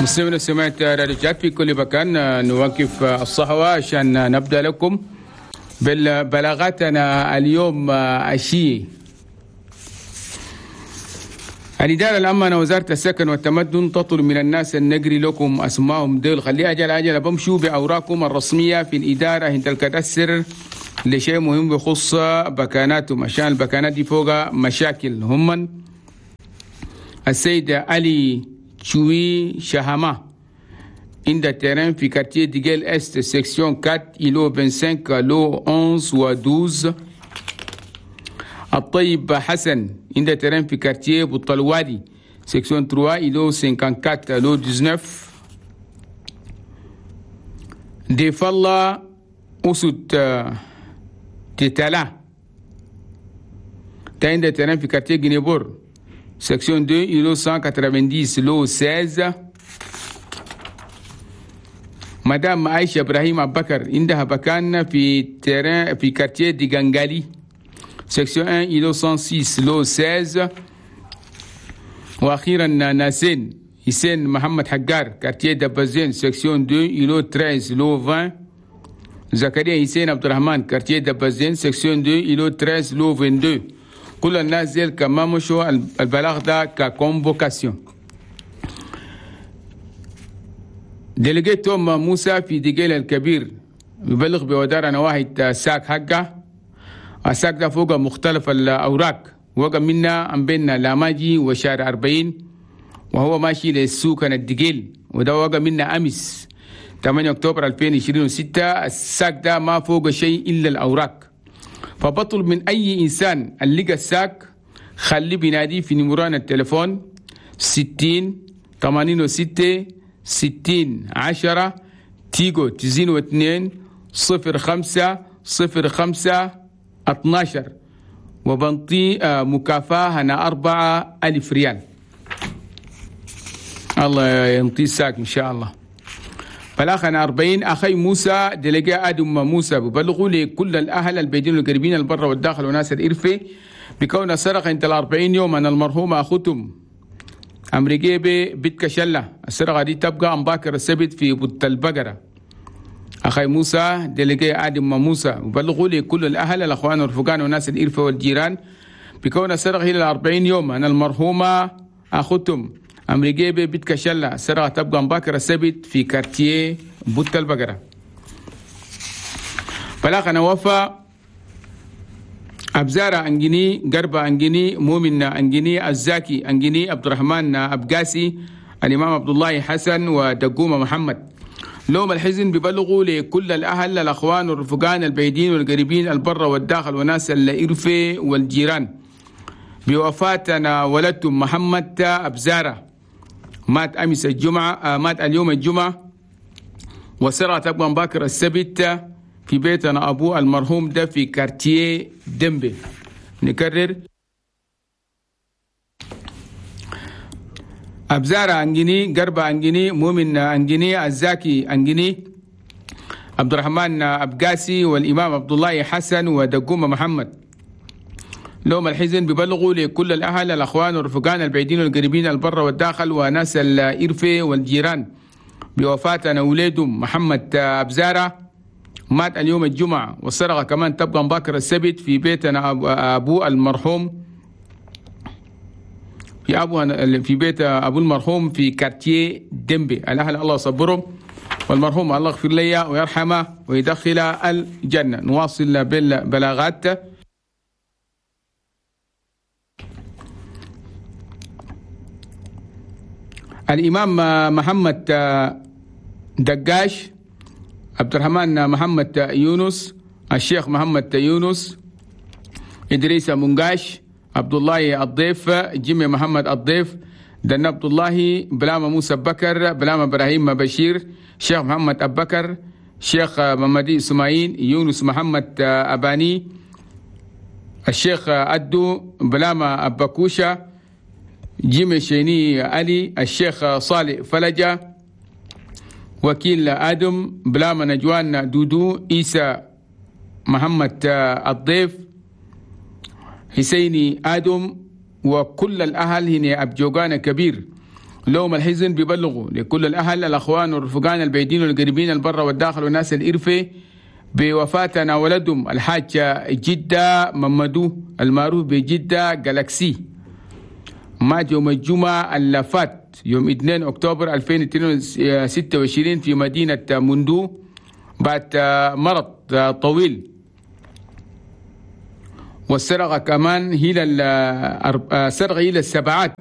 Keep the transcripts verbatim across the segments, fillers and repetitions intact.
مستمعينا سمعت راديو تشاد في كل مكان، نوقف الصحوة عشان نبدأ لكم بالبلاغاتنا اليوم الشيء. الإدارة العامة وزارة السكن والتمدن تطلب من الناس النقري لكم أسمائهم ديل، خلي أجل أجل بمشوا بأوراقكم الرسمية في الإدارة هنت الكدسر لشيء مهم بخص بكاناتهم، عشان البكانات دي فوق مشاكل. هم السيد علي شوي شهامة عند terrain في quartier ديجيل Est section أربعة îlot خمسة وعشرين lot إحدى عشر و اثنا عشر. الطيب حسن عند terrain في quartier بوطلوادي section ثلاثة îlot أربعة وخمسين lot تسعة عشر. ضيف الله أسد تتلا عند terrain في quartier جنيبور section اثنين îlot مية وتسعين lot ستة عشر. مدام عائشة إبراهيم أبو بكر عندها بكان في terrain في quartier ديغانغالي section واحد îlot مية وستة lot ستة عشر. واخيرا ناسين حسين محمد حجار quartier دبزين section اثنين îlot ثلاثة عشر lot عشرين. زكريا حسين عبد الرحمن quartier دبزين section اثنين îlot ثلاثة عشر lot اثنين وعشرين. كل الناس ديل كما مشوا البلاغ ده ك convocation. délégué توم موسى في ديجيل الكبير يبلغ بودار نواحي sac حقه، ال sac ده فوق مختلف الأوراق، وقع منا عم بين لاماجي وشارع أربعين وهو ماشي للسوق الدقيل، وده وقع منا أمس ثمانية أكتوبر ألفين وعشرين وستة. ال sac ده ما فوق شيء إلا الأوراق، فبطلب من أي إنسان اللي لقى ال sac خلي بينادي في نمران التليفون ستين ثمانين وستة ستين عشرة تيجو تزين واثنين صفر خمسة صفر خمسة اثناشر، وبنطي مكافأة هنا أربعة ألف ريال. الله ينطي sac إن شاء الله. بلاغنا أربعين أخي موسى délégué آدم موسى ببلغوا لكل الأهل البيدين والقريبين البر والداخل وناس الإرفة بكون سرق انت الأربعين يوم أن المرحوم أخوتم أمريكي بيت كشلة. السرقة دي تبقى أمباكر السبت في بوت البقرة. أخي موسى délégué آدم موسى ببلغوا لكل الأهل الأخوان والرفقان وناس الإرفة والجيران بكون السرقة إلى الأربعين يوم أن المرحومة أخوتم أمريكي بيت كشلة. السرقة تبقى مباكر السبت في quartier بوت البقرة. بلاغنا وفا أبزارة أنجني قربة أنجني مؤمن أنجني الزاكي أنجني عبد الرحمن أبقاسي الإمام عبد الله حسن ودقومة محمد. لوم الحزن ببلغوا لكل الأهل الأخوان والرفقان البعيدين والقريبين البر والداخل وناس الإرفة والجيران بوفاتنا ولدتم محمد أبزارة مات أمس الجمعة، مات اليوم الجمعة، وسرعة تبقى مباكر السبت في بيتنا أبو المرحوم ده في كارتيه دمبي. نكرر أبزارة أنجني قربة أنجني مؤمن أنجني الزاكي أنجني عبد الرحمن أبقاسي والإمام عبد الله حسن ودقومة محمد. لوم الحزن ببلغوا لكل الأهل الأخوان والرفقان البعيدين والقريبين البر والداخل وناس الإرفة والجيران بوفاة وليدهم محمد أبزارة مات اليوم الجمعة، والسرقة كمان تبقى مباكر السبت في بيتنا أبو المرحوم في أبو في بيت أبو المرحوم في كارتيه دمبي. الأهل الله يصبرهم والمرحوم الله يغفر لي ويرحمه ويدخل الجنة. نواصل بالبلاغات. الإمام محمد دقاش عبد الرحمن محمد يونس الشيخ محمد يونس إدريس منقاش عبد الله الضيف جيمي محمد الضيف دنا عبد الله بلامة موسى بكر بلامة إبراهيم بشير شيخ محمد أبو بكر شيخ محمدي سماعين يونس محمد أباني الشيخ أدو بلامة أبكوشة جيمي شيني علي الشيخ صالح فلجة وكيل آدم بلامة نجوان دودو إيسى محمد الضيف حسيني آدم وكل الأهل هنا أبجوغان كبير لهم الحزن بيبلغوا لكل الأهل الأخوان والرفقان البعيدين والقريبين البر والداخل والناس الإرفة بوفاتنا ولدهم الحاج جدة ممدو المعروف بجدة جالاكسي، مات يوم الجمعة اللي فات يوم اثنين أكتوبر ألفين وستة وعشرين في مدينة مندو بعد مرض طويل. والسرقة كمان هي السرقة هي السبعات،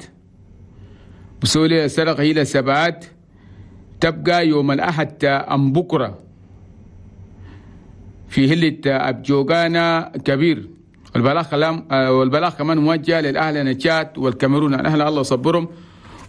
بسولي السرقة هي السبعات تبقى يوم الأحد أم بكرة في هلة أبجوغانا كبير. والبلاغ كلام والبلاغ كمان موجه للأهل نشات والكاميرون، الأهل الله صبرهم